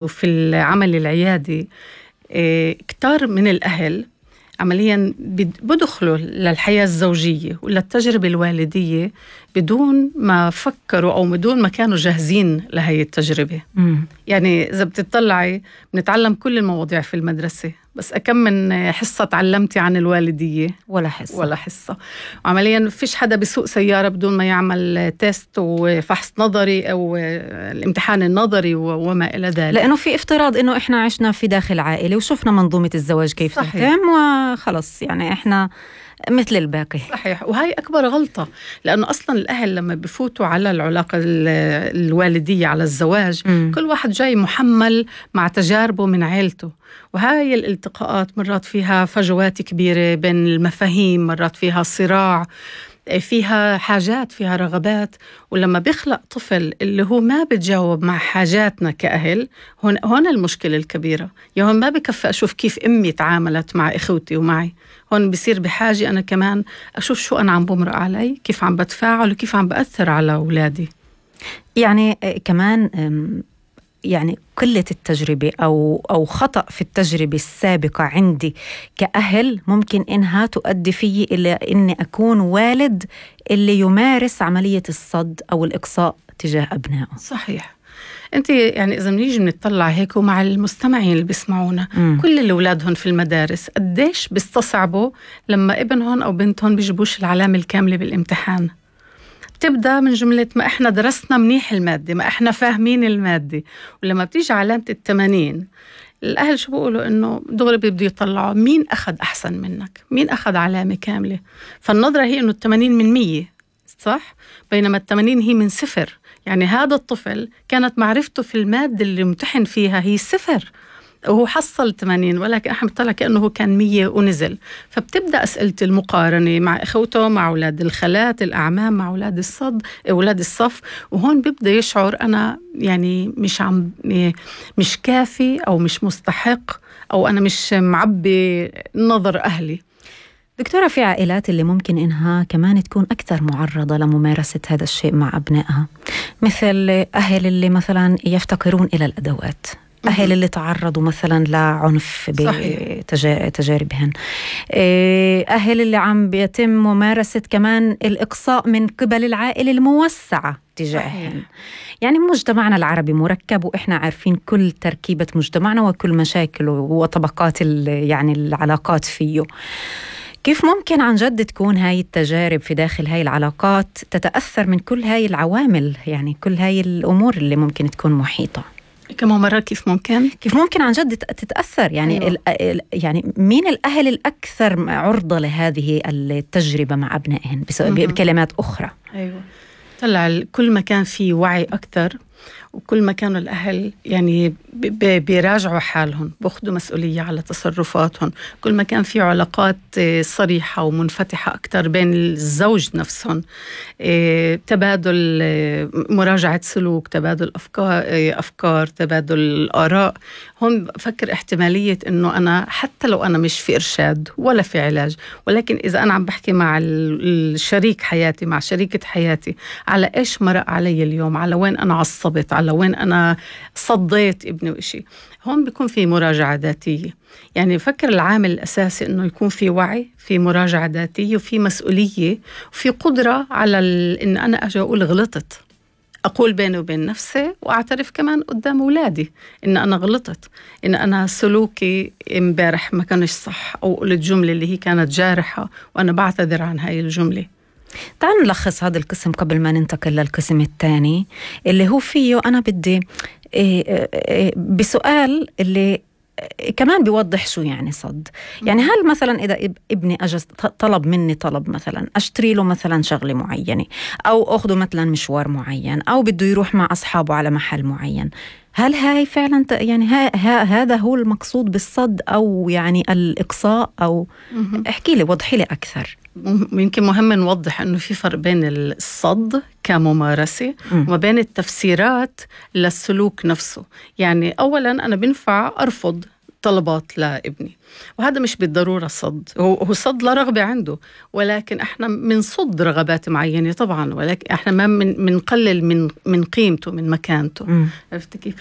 وفي العمل العيادي كتار من الأهل عملياً بدخلوا للحياة الزوجية وللتجربة الوالدية بدون ما فكروا أو بدون ما كانوا جاهزين لهي التجربة. يعني إذا بتطلعي بنتعلم كل المواضيع في المدرسة، بس أكم من حصة تعلمتي عن الوالدية؟ ولا حصة. وعملياً فيش حدا بيسوق سيارة بدون ما يعمل تيست وفحص نظري أو الامتحان النظري وما إلى ذلك، لأنه في افتراض إنه إحنا عشنا في داخل عائلة وشفنا منظومة الزواج كيف تتم وخلص، يعني إحنا مثل الباقي. صحيح. وهي أكبر غلطة، لأنه أصلاً الأهل لما بفوتوا على العلاقة الوالدية على الزواج كل واحد جاي محمل مع تجاربه من عيلته، وهاي الالتقاءات مرات فيها فجوات كبيرة بين المفاهيم، مرات فيها صراع، فيها حاجات، فيها رغبات. ولما بيخلق طفل اللي هو ما بتجاوب مع حاجاتنا كأهل، هون المشكلة الكبيرة. هون ما بكفي أشوف كيف أمي تعاملت مع إخوتي ومعي، هون بصير بحاجة أنا كمان أشوف شو أنا عم بمرق علي، كيف عم بتفاعل وكيف عم بأثر على أولادي. يعني كمان يعني قلة التجربة أو خطأ في التجربة السابقة عندي كأهل ممكن إنها تؤدي فيي إلى إني أكون والد اللي يمارس عملية الصد أو الإقصاء تجاه أبنائه. صحيح. أنت يعني إذا بنيجي بنطلع هيك ومع المستمعين اللي بيسمعونا، كل اللي أولادهم في المدارس قديش بيستصعبوا لما ابنهم أو بنتهم بيجيبوش العلامة الكاملة بالامتحان. تبدأ من جملة ما إحنا درسنا منيح المادة، ما إحنا فاهمين المادة، ولما بتيجي علامة 80 الأهل شو بيقولوا؟ إنه دغري بيبدوا يطلعوا مين أخذ أحسن منك، مين أخذ علامة كاملة. فالنظرة هي إنه 80 من 100 صح، بينما 80 هي من 0. يعني هذا الطفل كانت معرفته في المادة اللي امتحن فيها هي 0 وهو حصل 80، ولكن احنا بنطلع كأنه هو كان 100 ونزل. فبتبدأ أسئلة المقارنة مع إخوته، مع أولاد الخالات، الأعمام، مع أولاد أولاد الصف. وهون بيبدأ يشعر أنا يعني مش كافي أو مش مستحق أو أنا مش معبي نظر أهلي. دكتورة، في عائلات اللي ممكن إنها كمان تكون أكثر معرضة لممارسة هذا الشيء مع أبنائها، مثل أهل اللي مثلا يفتقرون إلى الأدوات، أهل اللي تعرضوا مثلا لعنف بتجاربهم، أهل اللي عم بيتم ممارسة كمان الإقصاء من قبل العائلة الموسعة تجاههم. يعني مجتمعنا العربي مركب، وإحنا عارفين كل تركيبة مجتمعنا وكل مشاكله وطبقات يعني العلاقات فيه. كيف ممكن عن جد تكون هاي التجارب في داخل هاي العلاقات تتأثر من كل هاي العوامل، يعني كل هاي الأمور اللي ممكن تكون محيطة؟ كمان مرة كيف ممكن عن جد تتأثر؟ يعني أيوة. يعني مين الأهل الأكثر عرضة لهذه التجربة مع أبنائهم بكلمات أخرى؟ أيوة. طلع كل ما كان في وعي أكثر، وكل ما كانوا الأهل يعني بيراجعوا حالهم، بأخذوا مسؤولية على تصرفاتهم، كل ما كان في علاقات صريحة ومنفتحة أكتر بين الزوج نفسهم، تبادل مراجعة سلوك، تبادل أفكار، تبادل الآراء. هم بفكر احتمالية إنه أنا حتى لو أنا مش في إرشاد ولا في علاج، ولكن إذا أنا عم بحكي مع الشريك حياتي، مع شريكة حياتي، على إيش مرق علي اليوم، على وين أنا عصبت، على وين أنا صديت ابني وإشي، هون بيكون في مراجعة ذاتية. يعني بفكر العامل الأساسي إنه يكون في وعي، في مراجعة ذاتية، وفي مسؤولية، وفي قدرة على إن أنا أجي أقول غلطت، أقول بيني وبين نفسي، وأعترف كمان قدام أولادي إن أنا غلطت، إن أنا سلوكي امبارح ما كانش صح، أو قلت جملة اللي هي كانت جارحة وأنا بعتذر عن هاي الجملة. تعالوا نلخص هذا القسم قبل ما ننتقل للقسم الثاني اللي هو فيه أنا بدي بسؤال اللي كمان بيوضح شو يعني صد. يعني هل مثلا إذا ابني أجل طلب مني طلب، مثلا أشتري له مثلا شغلة معينة، أو أخذه مثلا مشوار معين، أو بده يروح مع أصحابه على محل معين، هل هاي فعلا يعني هذا هو المقصود بالصد أو يعني الإقصاء؟ أو احكي لي، وضحي لي أكثر. يمكن مهم نوضح أنه في فرق بين الصد كممارسة وما بين التفسيرات للسلوك نفسه. يعني أولا أنا بنفع أرفض طلبات لابني. وهذا مش بالضرورة صد، هو صد لرغبة عنده، ولكن احنا منصد رغبات معينة طبعا، ولكن احنا ما منقلل من قيمته، من مكانته. عرفت كيف؟